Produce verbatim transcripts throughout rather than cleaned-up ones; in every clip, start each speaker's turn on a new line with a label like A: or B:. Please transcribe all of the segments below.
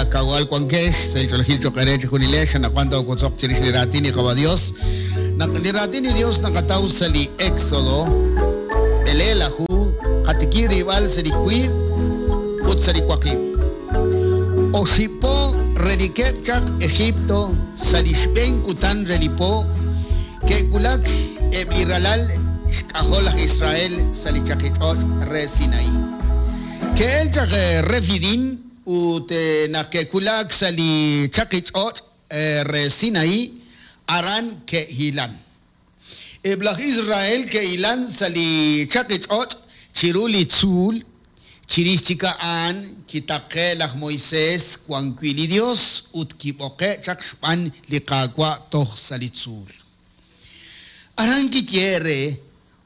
A: akawal wankex, sa' ch'oolejil cho'q eere chejunilex, anaqwan toowotzoq chirix li raatin li Qaawa' Dios. Naq li raatin li Dios naqataw sa' li Éxodo, b'eleelaju, qatikib' rilb'al sa' li wiib' ut sa' li waqib'. Oxib' po relikeb' chaq Egipto sa' li xb'een kutan re li po, ke'wulak eb' li ralal xk'ajol laj Israel sa' li chaqich'och' re Sinaí. Ke'el chaq Refidim ut naq ke'wulak sa' li chaqich'och' re Sinaí, aran ke'hilan. Eb' laj Israel ke'hilan sa' li chaqich'och' chiru li tzuul, chirix chik a'an kitaqe' laj Moisés wan wi' li Dios ut kib'oqe' chaq xb'aan li Qaawa' toj sa' li tzuul. Aran kiyehe' re,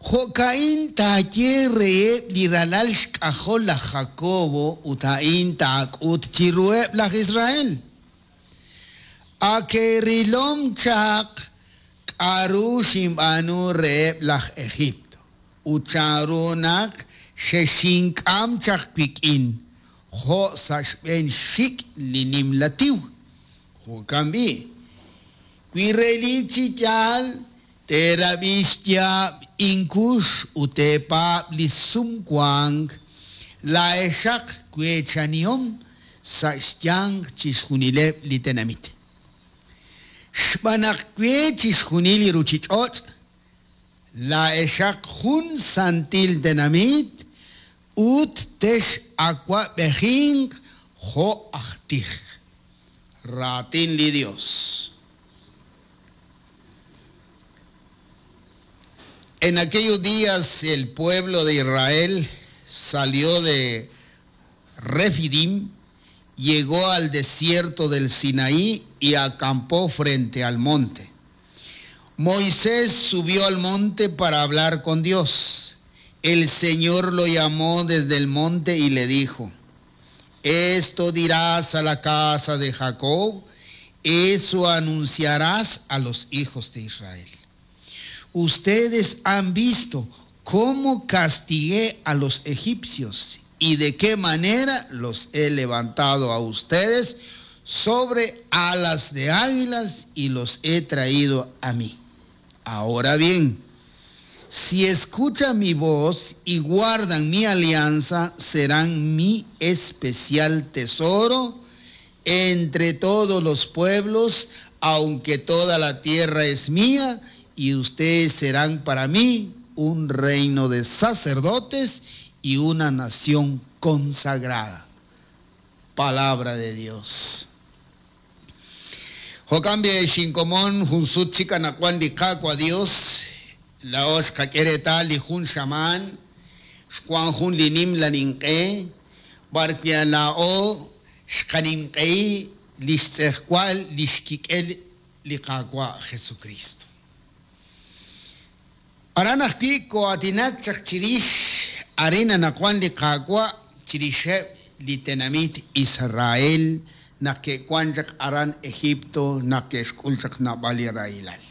A: jo'ka'in taaye reheb' li ralal xk'ajol laj Jacobo ut a'in taak'ut chiruheb' laj Israel. Akerilom chaq k'a'ru xinb'aanu reheb' laj Egipto ut chanru naq xexink'am chaq wik'in jo' sa' xb'een xxik' li nimla tiw. Jo'kan b'i', wi relik chi yaal teerab'i xyaab' inkux ut teepaab' li sumwank, laa'exaq weechanihom sa' xyanq chixjunileb' li tenamit. Xb'aan naq we chixjunil li ruuchich'och', laa'exaq jun santil tenamit ut tex'awab'ejinq jo' aj tij. Raatin li Dios. En aquellos días el pueblo de Israel salió de Refidim, llegó al desierto del Sinaí y acampó frente al monte. Moisés subió al monte para hablar con Dios. El Señor lo llamó desde el monte y le dijo: Esto dirás a la casa de Jacob, eso anunciarás a los hijos de Israel. Ustedes han visto cómo castigué a los egipcios y de qué manera los he levantado a ustedes sobre alas de águilas y los he traído a mí. Ahora bien, si escuchan mi voz y guardan mi alianza, serán mi especial tesoro entre todos los pueblos, aunque toda la tierra es mía, y ustedes serán para mí un reino de sacerdotes y una nación consagrada. Palabra de Dios. Jo'kan xinkomon jun sut chik anaqwan li Qaawa' Dios, laa'o xqak'e reetal li jun xamaan, xwan jun li nimla ninq'e, b'ar wi' laa'o xqaninq'ehi li xtz'ejwal li xkik'el li Qaawa' Jesucristo. Aran ajwi' ko'aatinak chaq chirix arin anaqwan li Qaawa' chirixeb' li tenamit Israel naq ke'wan chaq aran Egipto naq ke'xk'ul chaq naab'al li rahilal.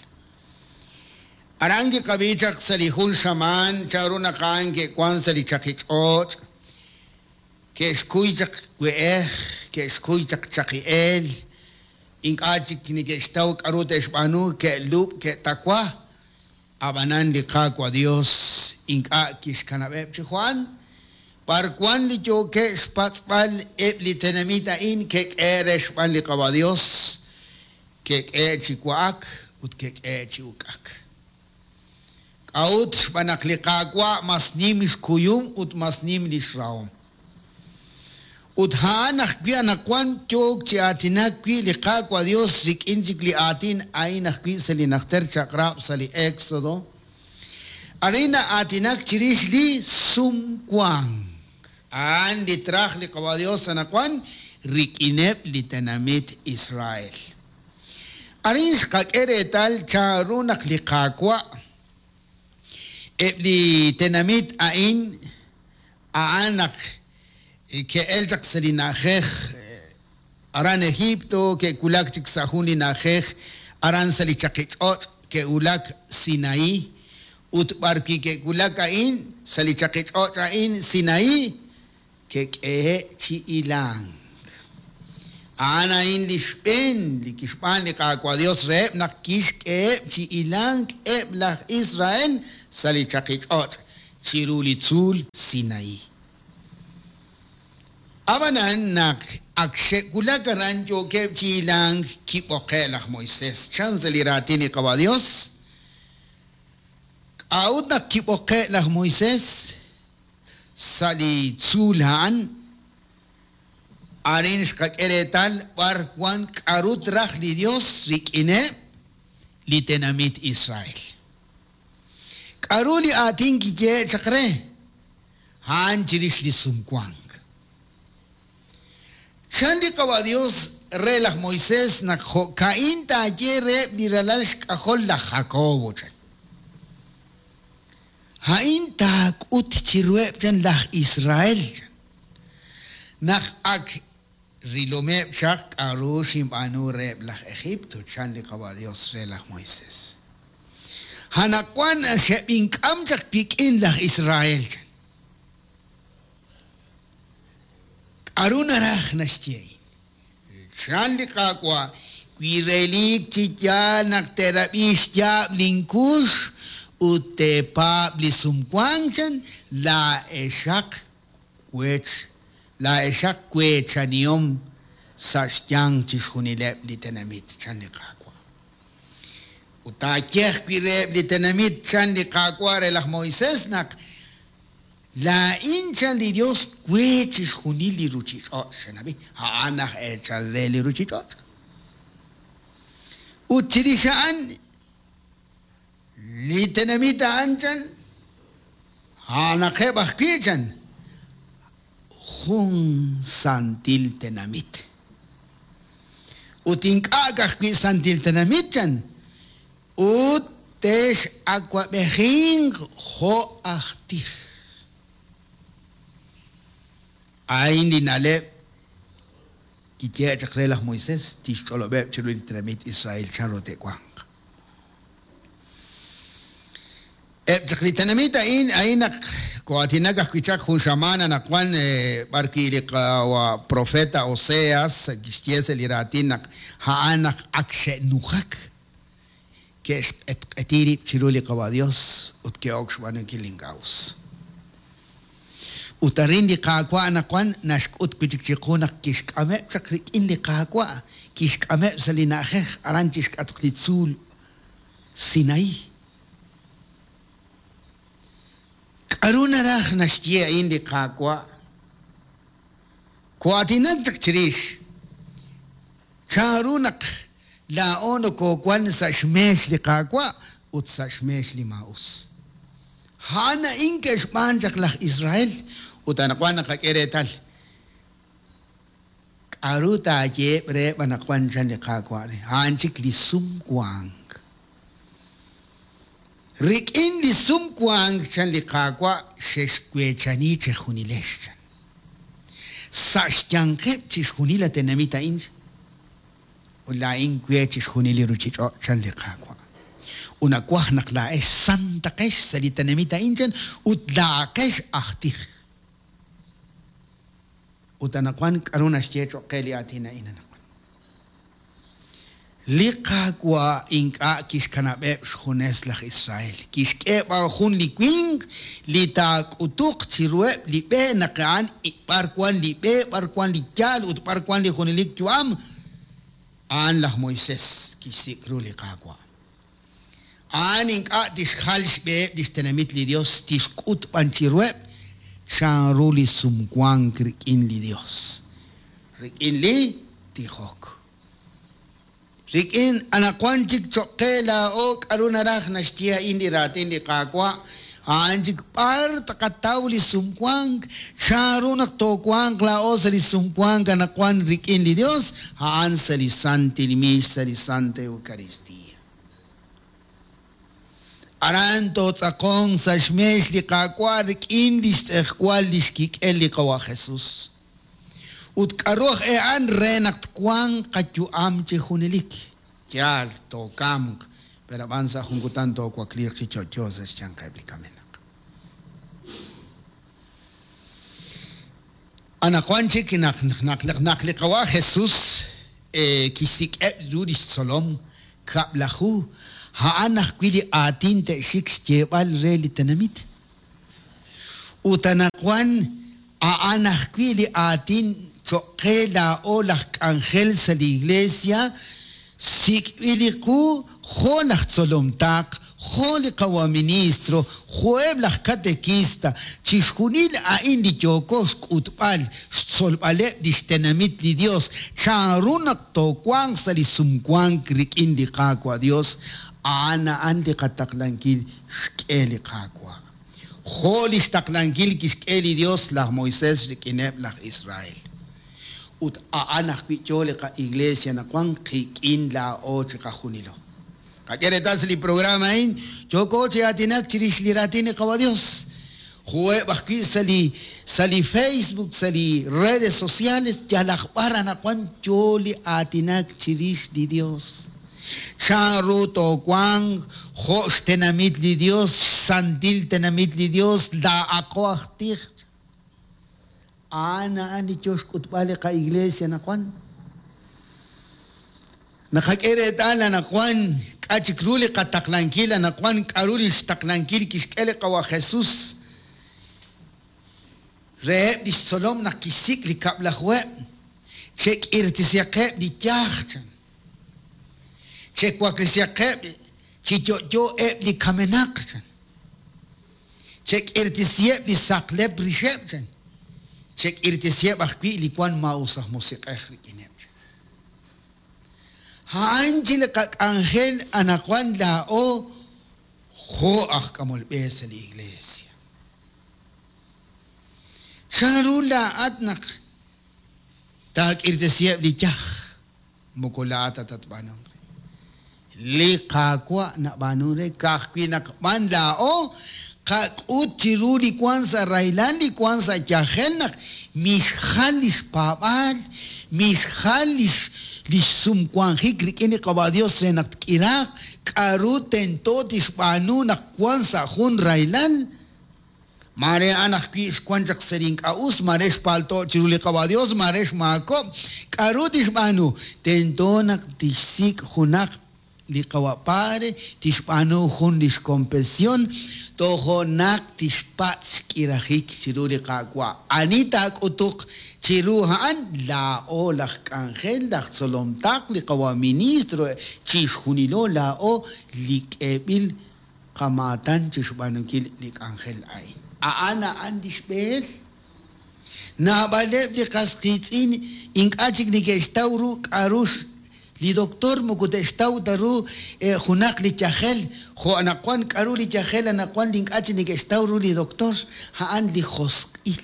A: Aran kiqab'i chaq sa' li jun xamaan chanru naq a'an ke'wan sa' li chaqich'och', ke'xkuy chaq we'ej, ke'xkuy chaq chaqi'eel, ink'a' chik neke'xtaw k'a'ru te'xb'aanu, ke'lub', ke'tawa. Ab'anan li Qaawa' Dios ink'a' kixkanab'eb' chi Juan, b'ar wan li yookeb' xpatz'b'al eb' li tenamit a'in ke'k'e re xb'aan li Qaawa' Dios, ke'k'e chi wa'ak ut ke'k'e chi uk'ak. K'a'ut xb'aan naq li Qaawa' mas nim xkuyum ut mas nim li xrahom. Ut a'an ajwi' anaqwan yook chi aatinak wi' li Qaawa' Dios rik'in chik li aatin a'in ajwi' sa' li najter chaq'rab' sa' li Éxodo. Arin na'aatinak chirix li sumwank. A'an li traj li Qaawa' Dios anaqwan rik'ineb' li tenamit Israel. Arin xqak'e reetal chanru naq li Qaawa' eb' li tenamit a'in a'an naq ke'el chaq sa' li na'ajej aran Egipto, ke'wulak chik sa' jun li na'ajej aran sa' li chaqich'och', ke'wulak Sinaí, ut b'ar wi' ke'wulak a'in sa' li chaqich'och' a'in Sinaí, ke'k'ehe' chi hilank. A'an a'in li xb'een li kixb'aan li Qaawa' Dios reheb' naq kixk'eheb' chi hilank eb' laj Israel sa' li chaqich'och' chiru li tzuul Sinaí. Ab'anan naq ak xe'wulak aran yookeb' chi hilank kib'oqe' laj Moisés chan sa' li raatin li Qawa' Dios. K'a'ut naq kib'oqe' laj Moisés sa' li tzuul a'an? Arin xqak'e reetal b'ar wan k'a'ru traj li Dios rik'ineb' li tenamit Israel. K'a'ru li aatin kiyehe' chaq re? A'an chirix li sumwank. Chan li Qawa' Dios re laj Moisés naq jo'ka'in taaye reheb' li ralal xk'ajol laj Jacobo chan. A'in taak'ut chiruheb' chan laj Israel chan. Naq ak rilomeb' chaq k'a'ru xinb'aanu reheb' laj Egipto chan li Qawa' Dios re laj Moisés. Anaqwan xeb'ink'am chaq wik'in laj Israel chan. K'a'ru naraj naxye a'in? Chan li Qaawa' wi relik chi yaal naq teerab'i xyaab' linkux ut teepaab' li sumwank chan laa'exaq wech laa'exaq weechanihom sa' xyanq chixjunileb' li tenamit chan li Qaawa'. Ut taaye ajwi' reheb' li tenamit chan li Qaawa' re laj Moisés naq laa'in chan li Dios we chixjunil li ruchich'och' chan ab'i a'an aj eechal re li ruchich'och'. Ut chirix a'an li tenamit a'an chan a'anaqeb' ajwi' chan jun santil tenamit. Ut ink'a' ajwi' santil tenamit chan ut te'x'awab'ejinq jo' aj tij. A'in li na'leb' kiyehe' chaq re laj Moisés tixch'olob'eb' chiru li tenamit Israel chan ru te'wanq. Eb' chaq li tenamit a'in a'in naq ko'aatinak ajwi' chaq jun xamaan anaqwan b'ar wi' li Qawa' profeta Oseas kixye sa' li raatin naq a'an naq ak xe'nujak ke'xq'etq'eti rib' chiru li Qawa' Dios ut ke'ok xb'aanunkil li ink'a' us. Ut arin li Qaawa' anaqwan naxk'ut wi' chik chiqu naq kixk'ameb' chaq rik'in li Qaawa' kixk'ameb' sa' li na'ajej aran chixk'atq li tzuul Sinaí. K'a'ru naraj naxye a'in li Qaawa'? Ko'aatinak chaq chirix chanru naq laa'o nokowan sa' xmeex li Qaawa' ut sa' xmeex li maa'us. A'an a'in ke'xb'aan chaq laj Israel ut anaqwan naqak'e reetal. K'a'ru taayeheb' reheb' anaqwan chan li Qaawa' re? A'an chik li sumwank. Rik'in li sumwank chan li Qaawa' xexweechani chejunilex chan. Sa' xyanqeb' chixjunil la tenamit a'in ut laa'in we chixjunil li ruchich'och' chan li Qaawa'. Ut nawaj naq laa'ex santaqex sa' li tenamit a'in chan ut laa'aqex aj tij. Ut anaqwan k'a'ru naxye cho'q qe li aatin a'in anaqwan? Li Qaawa' ink'a' kixkanab'eb' xjunes laj Israel. Kixk'e b'an jun li winq li taak'utuq chiruheb' li b'e naq a'an b'ar wan li b'e, b'ar wan li yaal ut b'ar wan li junelik yu'am. A'an laj Moisés kixsik' ru li Qaawa'. A'an ink'a' tixjal xb'eheb' lix tenamit li Dios tixk'ut b'an chiruheb' chanru li sumwank rik'in li Dios. Rik'in li tijok. Rik'in anaqwan chik cho'q qe laa'o k'a'ru naraj naxye a'in li raatin li Qaawa' a'an chik b'ar taqataw li sumwank chanru naq toowanq laa'o sa' li sumwank anaqwan rik'in li Dios a'an sa' li Santil Mix sa' li Santa Eucaristía. Aran tootz'aqon sa' xmeex li Qaawa' rik'in li xtz'ejwal li xkik'el li Qawa' Jesús. Ut k'a'ru aj e'an re naq twanq qayu'am chi junelik. Yaal tookamq, pero ab'an sa' jun kutan toowakliiq chi yo'yo sa' xyanqeb' li kamenaq. Anaqwan chik naq naq naq li Qawa' Jesús kixsik'eb' ru lix tzolom kab'laju a'an ajwi' li aatin te'xik xyeeb'al re li tenamit. Ut anaqwan a'an ajwi' li aatin cho'q qe laa'o laj k'anjel sa' li iglesia sik'b'il li qu jo' laj tzolom taq, jo' li qawa' ministro, jo'eb' laj katekista, chixjunil a'in li yooko xk'utb'al, xtzolb'aleb' lix tenamit li Dios, chanru naq toowanq sa' li sumwank rik'in li Qaawa' Dios, a'an a'an li qataqlankil xk'e li Qaawa'. Jo' li xtaqlankil kixk'e li Dios laj Moisés rik'ineb' laj Israel. Ut a'an ajwi' yo li qa-iglesia naqwan qik'in laa'o chiqajunilo. Qak'e reetal sa' li programa a'in yooko chi aatinak chirix li raatin li Qawa' Dios. Jo'eb' ajwi' sa' li sa' li Facebook, sa' li redes sociales, yalaq b'ar anaqwan yo li aatinak chirix li Dios. Chanru toowanq jo' xtenamit li Dios, xsantil tenamit li Dios, laa'aqo aj tij. A'an a'an li yo xk'utb'al li qa-iglesia naqwan. Naqak'e reetal anaqwan k'a' chik ru li qataqlankil anaqwan k'aru li xtaqlankil kixk'e li Qawa' Jesús reheb' lix tzolom naq kixsik' li kab'lajuheb', chek'irtisihaqeb' li yaj chan, chewaklesihaqeb' chi yo'yo eb' li kamenaq chan, chek'irtisiheb' li saqleb' rixeb' chan, chek'irtisiheb' ajwi' li wan maa'us aj musiq'ej rik'ineb' chan. A'an chi li qak'anjel anaqwan laa'o jo' aj k'amol b'e sa' li iglesia. Chanru laa'at naq taak'irtisiheb' li yaj, moko laa'at tatb'aanunq re. Li Qaawa' nab'aanun re ka'ajwi' naq b'an laa'o qak'ut chiru li wan sa' rahilal, li wan sa' yajel naq mixjal lix paab'aal, mixjal lix lix sumwanjik rik'in li Qawa' Dios re naq tk'iraaq, k'aru tento tixb'aanu naq wan sa' jun rahilal. Mare a'an ajwi' xwan chaq sa' li ink'a' us, mare xpalto' chiru li Qawa' Dios, mare xmaakob', k'aru tixb'aanu? Tento naq tixsik' junaq li Qawa' Padre, tixb'aanu jun lix confesión, tojo' naq tixpatz' xk'irajik chiru li Qaawa'. Ani taak'utuq chiru a'an laa'o laj k'anjel, laj tzolom taq, li Qawa' ministro, chixjunilo laa'o li k'eeb'il qamaatan chixb'aanunkil li k'anjel a'in. A'an a'an lix b'ehel. Naab'aleb' li qas qiitz'in ink'a' chik neke'xtaw ru k'aru li doctor moko te'xtaw ta ru junaq li yajel, jo' anaqwan k'aru li yajel anaqwan li ink'a' chik neke'xtaw ru li doctor, a'an li josq'il.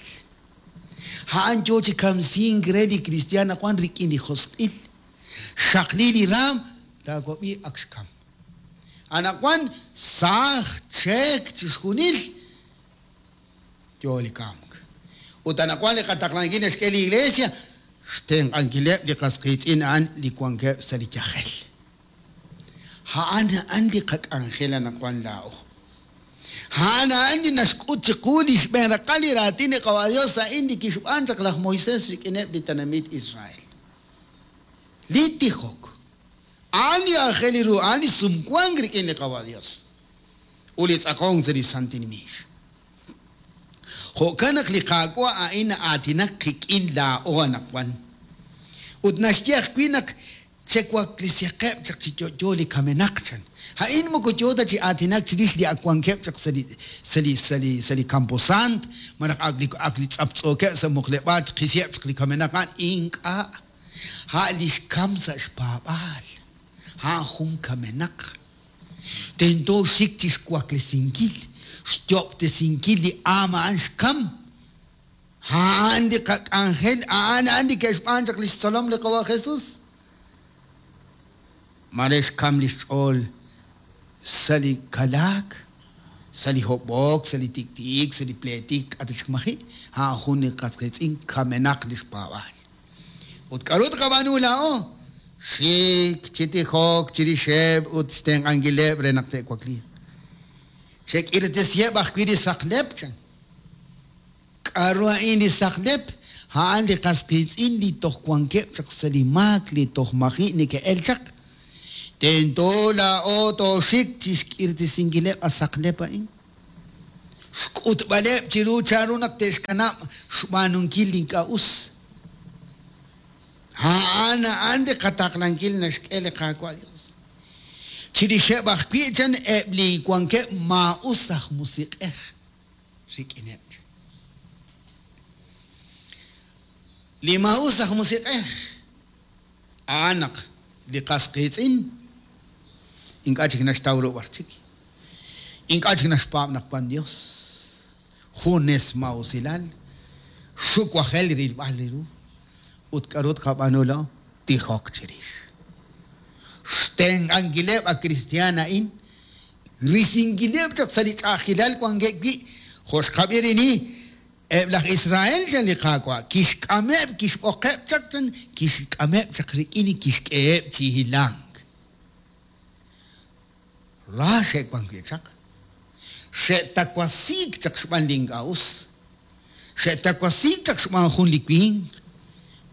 A: A'an yo chi kamsink re li cristian anaqwan rik'in li josq'il. Xaqli li raam taawab'i ak xkam. Anaqwan saaj cheek chixjunil yo li kamk. Ut anaqwan li qataqlankil naxk'e li iglesia xtenq'ankileb' li qas qiitz'in a'an li wankeb' sa' li yajel. A'an a'an li qak'anjel anaqwan laa'o. A'an a'an li naxk'ut chiqu li xb'een raqal li raatin li Qawa' Dios a'in li kixb'aan chaq laj Moisés rik'ineb' li tenamit Israel. Li tijok. A'an li aajel ru, a'an li sumwank rik'in li Qawa' Dios. Ut li tz'aqonk sa' li santil miix. Jo'kan naq li Qaawa' a'in na'aatinak qik'in laa'o anaqwan. Ut naxye ajwi' naq chewaklesihaqeb' chaq chi yo'yo li kamenaq chan. A'in moko yo ta chi aatinak chirix li akwankeb' chaq sa' li sa' li sa' li sa' li Camposant, malaj ak li ak li tz'aptz'ookeb' sa' muqleb'aal qisiheb' chaq li kamenaq a'an ink'a'. A' li xkam sa' xpaab'aal. A'an jun kamenaq. Tento xik chixwaklesinkil, xyob'tesinkil li aam a'an xkam. A'an li qak'anjel, a'an a'an li ke'xb'aan chaq lix tzolom li Qawa' Jesús. Mare xkam li xch'ool sa' li kalaak, sa' li hob'ok, sa' li tiktiik, sa' li pleetik, k'a' ta chik maji', a'an jun li qas qiitz'in kamenaq li xpaab'aal. Ut k'aru tqab'aanu laa'o? Xik chi tijok chirixeb' ut xtenq'ankileb' re naq te'wakliiq. Chek'irtisiheb' ajwi' li saqleb' chan. K'aru a'in li saqleb'? A'an li qas qiitz'in li toj wankeb' chaq sa' li maak li toj maji' neke'el chaq. Tento laa'o tooxik chi xk'irtisinkileb' a saqlep a'in. Xk'utb'aleb' chiru chanru naq te'xkanab' xb'aanunkil li ink'a' us. A'an a'an li qataqlankil naxk'e li Qaawa' Dios. Chirixeb' ajwi' chan eb' li wankeb' maa'us aj musiq'ej rik'ineb'. Li maa'us aj musiq'ej a'an naq li qas qiitz'in ink'a' chik naxtaw ru b'ar chik. Ink'a' chik naxpaab' naq wan Dios. Junes ma'usilal xuwajel rilb'al li ru. Ut k'aru tqab'aanu laa'o tijok chirix. Xtenq'ankileb' a cristian a'in risinkileb' chaq sa' li ch'a'ajkilal wankeb' wi' jo' xqab'i rini eb' laj Israel chan li Qaawa' kixk'ameb' kixb'oqeb' chaq chan kixk'ameb' chaq rik'in kixk'eheb' chi hilank. Ra xe'wan wi' chaq. Xe'takwasiik chaq xb'aan li ink'a' us. Xe'takwasiik chaq xb'aan jun li winq.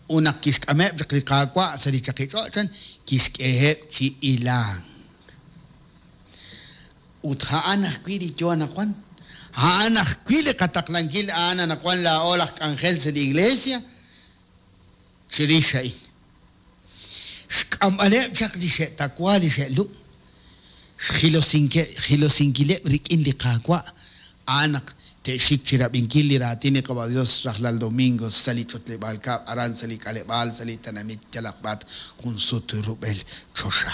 A: Ut naq kixk'ameb' chaq li Qaawa' sa' li chaqich'och' chan kixk'eheb' chi hilank. Ut a'an ajwi' li yo anaqwan. A'an ajwi' li qataqlankil a'an anaqwan laa'o laj k'anjel sa' li iglesia chirix a'in. Xk'amb'aleb' chaq li xe'takwa li xe'lub' xjilosinkileb' rik'in li Qaawa' a'an naq te'xik chirab'inkil li raatin li Qawa' Dios rajlal domingo sa' li ch'utleb'aal kab' aran sa' li k'aleb'aal sa' li tenamit yalaq b'at jun sut rub'el choxa.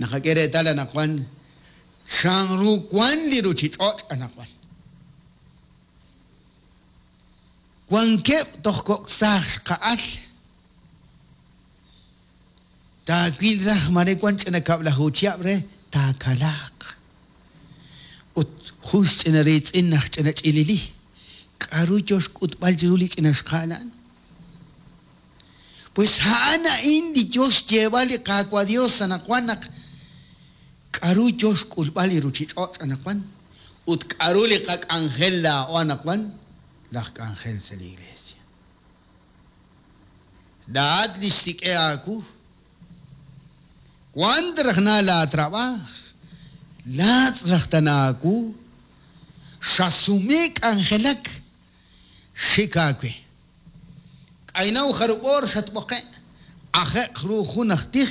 A: Naqak'e reetal anaqwan chanru wan li ruchich'och' anaqwan. Wankeb' toj kok' saaj xqa'al. Taawil raj mare wan ch'ina kab'laju chihab' re taakalaaq. Ut jun xch'ina riitz'in naj ch'ina ch'ilili. K'aru yo xk'utb'al chiru li ch'ina xqa'al a'an? Pues a'an a'in li yo xyeeb'al li Qaawa' Dios anaqwan naq k'aru yo xk'ulb'al li ruchich'och' anaqwan ut k'aru li qak'anjel laa'o anaqwan laj k'anjel sa' li iglesia. Laa'at li xsik'e aawu. Wan raj na laatrab'aaj, laatz' raj tana aawu, xasume k'anjelak xik aawe. K'aynaw jarub'oor xatb'oqe', aje'q ru jun aj tij,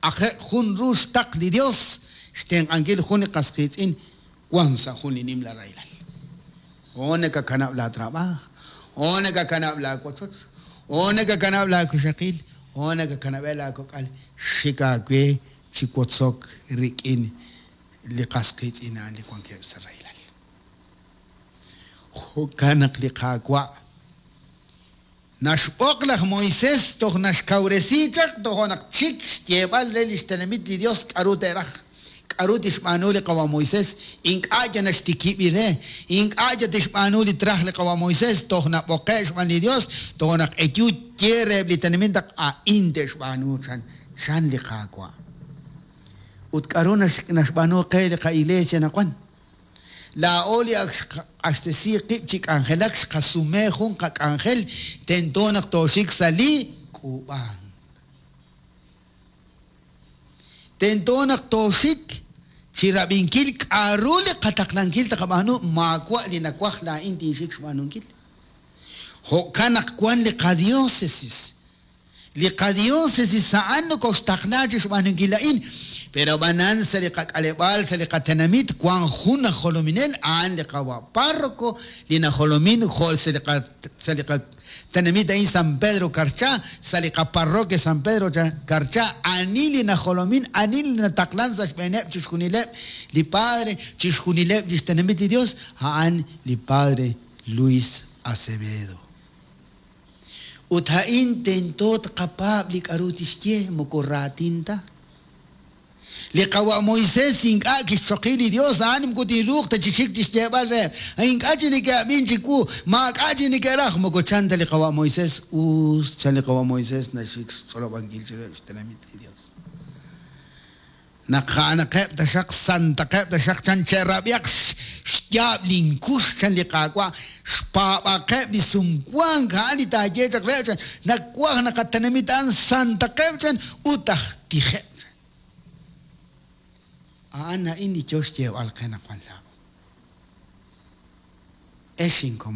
A: aje'q jun ru xtaq li Dios, xtenq'ankil jun li qas qiitz'in wan sa' jun li nimla rahilal. O nakakanab' laatrab'aaj, o nakakanab' laawochoch, o nakakanab' laakuxaqil, o nakakanab'e laakok'al xik aawe chi wotzok rik'in li qas qiitz'in a'an li wankeb' sa' rahilal. Jo'kan naq li Qaawa' naxb'oq laj Moisés toj naxkawresi chaq toj naq chik xyeeb'al re li xtenamit li Dios k'aru te'raj. K'aru tixb'aanu li qawa' Moisés ink'a' ya naxtikib' re, ink'a' ya tixb'aanu li traj li qawa' Moisés toj nab'oqe' xb'aan li Dios toj naq eyu ye reheb' li tenamit naq a'in te'xb'aanu chan chan li Qaawa'. Ut k'aru naxb'aanu qe li qa'iglesia anaqwan. Laa'o li ak xq'axtesi qib' chi k'anjelak xqasume jun qak'anjel tento naq tooxik sa' li k'uub'ank. Tento naq tooxik chi rab'inkil k'aru li qataqlankil taqab'aanu maawa' li nawaj laa'in tinxik xb'aanunkil. Jo'kan naq wan li qadiócesis. Li qadiócesis a'an nokoxtaqla chi xb'aanunkil a'in. Pero b'anan sa' li qak'aleb'aal sa' li qatenamit wan jun aj jolominel a'an li qawa' párroco li najolomin jo' sa' li sa' li qatenamit a'in San Pedro Carchá sa' li qaparroquia San Pedro Carchá ani li najolomin ani li nataqlan sa' xb'eeneb' chixjunileb' li padre chixjunileb' li xtenamit li Dios a'an li padre Luis Acevedo. Ut a'in tento tqapaab' li k'aru tixye moko raatin ta. Li qawa' Moisés ink'a' kixchoqi li Dios a'an moko tinruuq ta chi xik chi xyeeb'al re. Ink'a' chi neke'ab'in chiwu, maak'a' chi neke'raj moko chan ta li qawa' Moisés us chan li qawa' Moisés naxik xch'olob'ankil chiruheb' xtenamit li Dios. Naq a'anaqeb' taxaq santaqeb' taxaq chan che'rab'ihaq xyaab' linkux chan li Qaawa', xpaab'aqeb' li sumwank a'an li taaye chaq reheb' chan, nawaj naq a tenamit a'an santaqeb' chan ut aj tijeb' chan. A'an a'in li yo xyeeb'al qe naq wan laa'o. Ex inkomon.